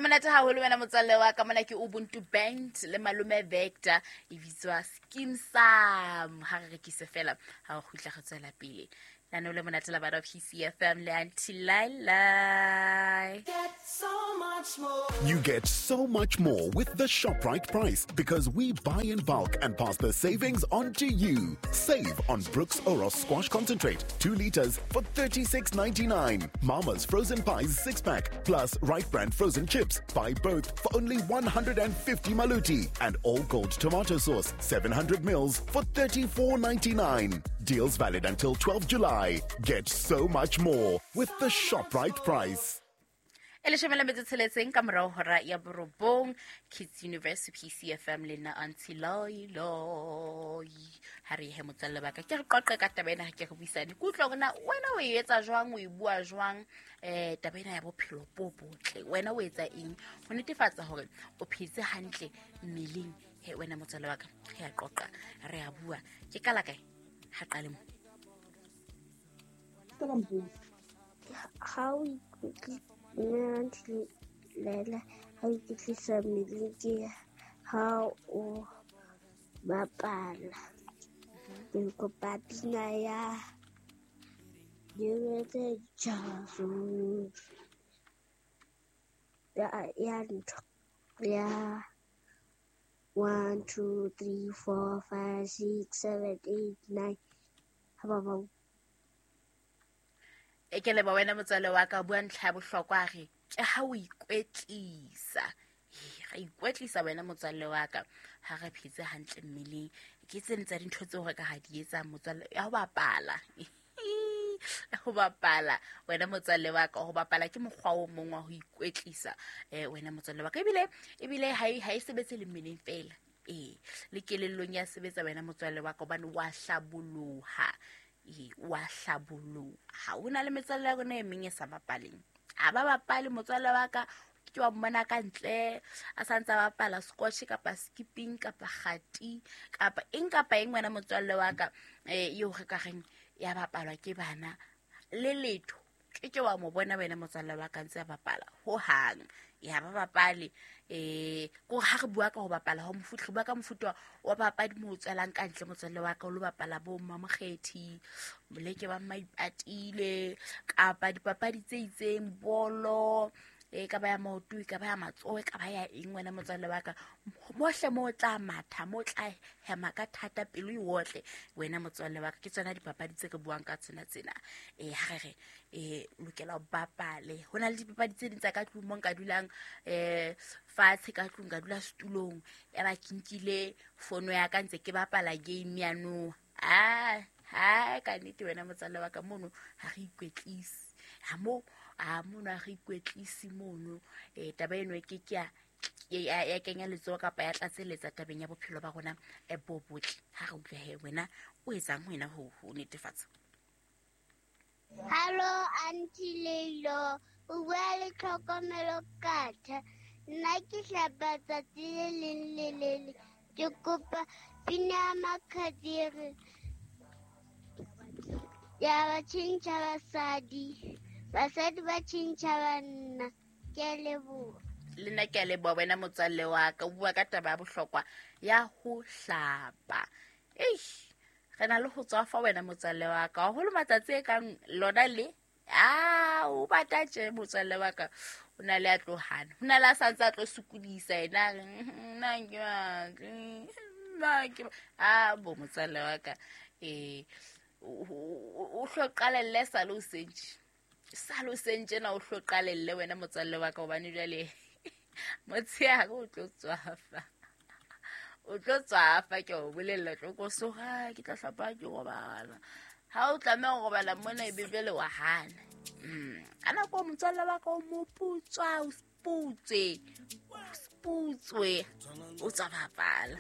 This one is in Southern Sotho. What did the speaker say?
Monate haholo wena motswalle wa ka. Mona ke Ubuntu Band le Malome Vector, e bitswa Skeem Sam. Ha re rekise fela, ha o kgutla re tswela pele lenaneo le monate la bana PCFM le Aunty Lailai. You get so much more with the ShopRite price because we buy in bulk and pass the savings on to you. Save on Brooks Oros Squash Concentrate, 2 liters for 36.99. Mama's Frozen Pies 6 pack plus Right Brand Frozen Chips. Buy both for only 150 maluti. And All Gold Tomato Sauce, 700 mils for 34.99. Deals valid until 12 July. Get so much more with the ShopRite price. E 16 ka morao hora ya 9, Kids Universe, PCFM le nna Aunty Lailai. Ha re he motswalle ba ka, ke re qoqe ka taba ena, ke re buisane, ke utlwa hore na wena o e etsa jwang, o e bua jwang taba ena ya bophelo bo botle. Wena o etsa eng ho netefatsa hore o phetse hantle mmeleng? He wena motswalle wa ka, re a qoqa, re a bua. Ke kala kae? Ha qale mo. Ha o lela, ha o ikwetlisa mmeleng ke ha o bapala. Ke kopa pina ya Diretse Jaso ya ntho ya 1 2 3 4 5 6 7 8 9 ha ba ba. E ke leba wena motswalle wa ka, bua ntlha ya bohlokwa, re ke ha o ikwetlisa. Ra ikwetlisa wena motswalle wa ka, ha re phetse hantle mmeleng. Ke tse tsa dintho tseo re ka ha di etsang motswalle, ya ho bapala. Ho bapala wena motswalle wa ka, ho bapala ke mokgwa o mong wa ho ikwetlisa wena motswalle wa ka. Ebile ha e sebetse le mmeleng fela, le kelellong ya sebetsa wena motswalle wa ka, hobane wa hlaboloha. Wa hlaboloha. Ho na le metswalle ya rona e meng e sa bapaleng, ha ba bapale motswalle wa ka, ke wa mmona ka ntle a sa ntse a bapala scotch kapa skipping kapa kgati kapa eng kapa eng wena motswalle wa ka, eo re ka reng ya bapalwa ke bana le letho. Ke wa mo bona wena motswalle wa ka ntse a bapala ho hang, ya ba bapale. Ko ha re bua ka ho bapala ho mofuta, re bua ka mofuta wa papadi mo tswelang ka ntle motswalle wa ka, o lo bapala bo mmamokgethi, moleke ba maipatile, kapa dipapadi tse itseng, bolo, e ka ba ya maoto, e ka ba ya matsoho, e ka ba ya eng wena motswalle wa ka. Mohle mo tla matha, mo tla hema ka thata, pelo e otle wena motswalle wa ka. Ke tsona dipapadi tse re buang ka tsona tsena. Ha re re lokela ho bapale. Ho na le dipapadi tse ding tsa ka tlung mo nka dulang fatshe ka tlung, ka dula setulong, ya ba ke nkile fono ya ka ntse ke bapala game ya noha. Ha ka nnete wena motswalle wa ka, mono ha re ikwetlise. Ha mo a mono ha re ikwetlise mono. Taba eno ke ke ya kenya letsoho kapa ya tlatseletsa tabeng ya bophelo ba rona bo botle. Ha re utlwe he wena o etsang wena ho netefatsa. Hello Aunty Leilo, o bua le Tlhokomelo Katha. Nna ke hlapa tsatsi le leng le le leng. Ke kopa pina ya Makhadiri ya ba tjhentjha basadi, basadi ba tjhentjha banna. Ke a leboha. Le nna ke a leboha wena motswalle wa ka. O bua ka taba ya bohlokwa ya ho hlapa. Eish, re na le ho tswafa wena motswalle wa ka, haholo matsatsi e kang lona le o bata tje motswalle wa ka, o na le a tlo hana, ho na le a sa ntse a tlo sokodisa yena, a re, nna ke batle, nna ke ba-" bo motswalle wa ka, o hlo qalelle sa le o sentše, sa le o sentše na o hlo qalelle wena motswalle wa ka, hobane jwale motshehare o tlo tswafa. O tlo tswafa, ke o bolella, tlo ko soga, ke tla hlapa ke robala. Ha o tlameha ho robala mona ebe jwale wa hana. Ka nako motswalle wa ka o moputswa, o sputswe, o sputswe, o tswa bapala.